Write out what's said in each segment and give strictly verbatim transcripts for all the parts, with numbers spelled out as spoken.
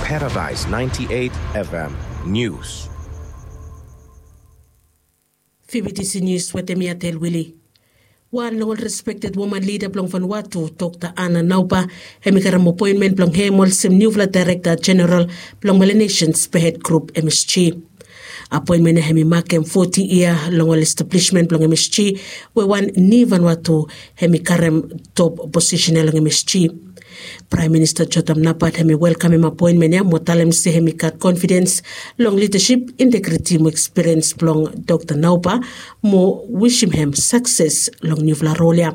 Paradise ninety-eight F M News. Fibitisi nius wetem mi Atel Wili. Wan long ol respekted woman lida blong Vanuatu, Dr Anna Nauba, hem i karem apoenmen blong hem olsem niufala daerekta jeneral blong Melanesian Spearhead Grup, M S G. Apoenmen ya hem i makem foti yia long ol establishment blong M S G, we wan ni Vanuatu hem i karem top posisen ya long M S G. Praem Minista Jotham Napat hem i welkamem apoenmen ya mo talem se hem i gat konfidens long lidasip, integriti mo ekspiriens blong Dr Nauba, mo wisim hem sakses long niufala rol ya.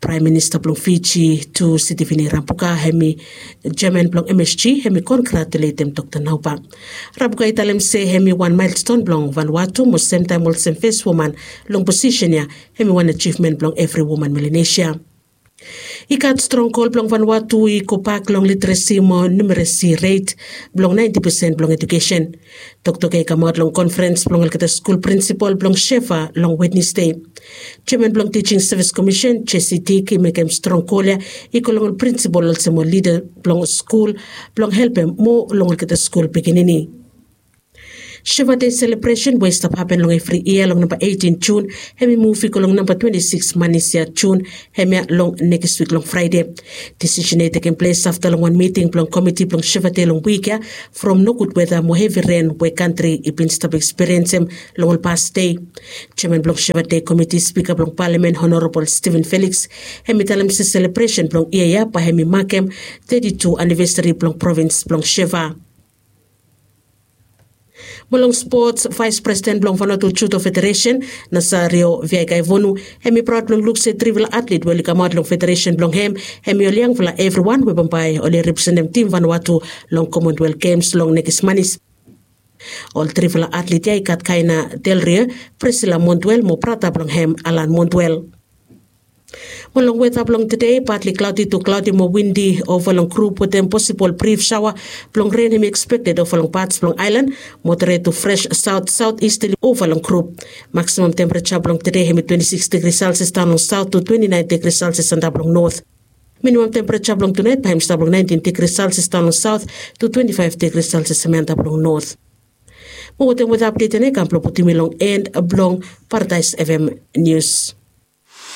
Praem Minista blong Fiji tu, Sitiveni Rabuka, hem i jeaman blong M S G, hem i kongratuletem Dr Nauba. Rabuka i talem se hem i wan maelston blong Vanuatu mo semtaem olsem fes woman long posisen ya, hem i wan ajivmen blong evri woman Melanesia. I gat strong gol blong Vanuatu i gobak long literesi mo numeresi ret blong naenti pesen blong ejukesen. Toktok ya i kamaot long konferens blong olgeta skul prinsipol blong Shefa long Wednesde. Jeaman blong Tijing Sevis Komisen, Jesse Dick, i mekem strong gol ya i go long ol prinsipol olsem ol lida blong skul blong helpem moa long olgeta skul pikinini. Shefa Dei selebresen we i stap hapen long evri yia long namba eitin Jun, hem i muv i go long namba twenti sikis manis ya Jun, hemia long nekis wik long Fraede. Disisen ya i tekem ples afta long wan miting blong komiti blong Shefa Dei long wik ya, from nogud weta mo hevi ren we kantri i bin stap ekspiriensem long ol pas dei. Jeaman blong Shefa Dei Komiti, Spika blong Palamen Honorabol Steven Felix, hem i talem se selebresen blong yia ya bae hem i makem teti tu anivesari blong provins blong Shefa. Mo long spots, Vaes Presiden blong Vanuatu Judo Federesen, Nasario Viaikaivonu, hem i praod blong luk se trifala atlet we oli kamaot long federesen blong hem, hem i ol yangfala evriwan we bambae oli representem tim Vanuatu long Commonwealth Games long nekis manis. Ol trifala atlet ya i gat Kaina Del Rio, Priscilla Montwell mo brata blong hem, Alan Montwell. Mo long weta blong tede, partly cloudy to cloudy mo windi ova long grup wetem posibol brif saoa blong ren hem i ekspekted ova long pats blong aelan, moderate to fresh south southeasterly ova long grup. Maximum temperature blong tede hem i twenti sikis degri Celsius daon long south to twenti naen degri Celsius antap long north. Minimum temperature blong tunaet bae hem i stap long naentin degri Celsius daon long south to twenti faef degri Celsius hem antap long north. Mo wetem weta apdet ya nao i kam blong putum mi long en blong Paradise F M News.